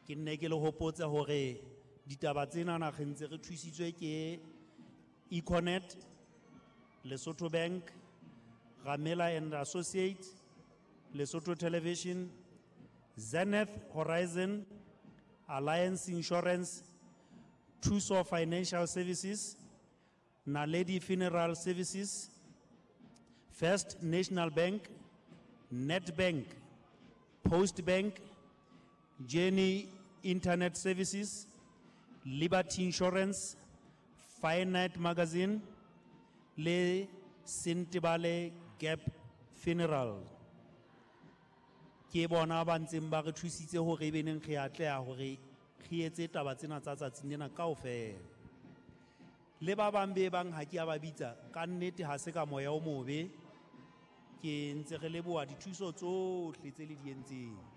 Ke nne ke le hopotse hore ditaba tsenana re ntse re thusitswe ke Econet, Lesotho Bank, Ramela and Associates, Lesotho Television, Zenith Horizon, Alliance Insurance, Thuso Financial Services, Naledi Funeral Services, First National Bank, Nedbank, Post Bank, Journey Internet Services, Liberty Insurance, Finite Magazine, le Sentebale Gap Funeral. Ke bona ba ntseng ba re thusitse hore e beneng re atleha hore re etse taba tsena tsa tsatsing lena kaofela. Le ba bang be bang ha ke a ba bitsa, ka nnete ha se ka moya o mobe, ke ntse re leboha dithuso tsohle tse le di entseng.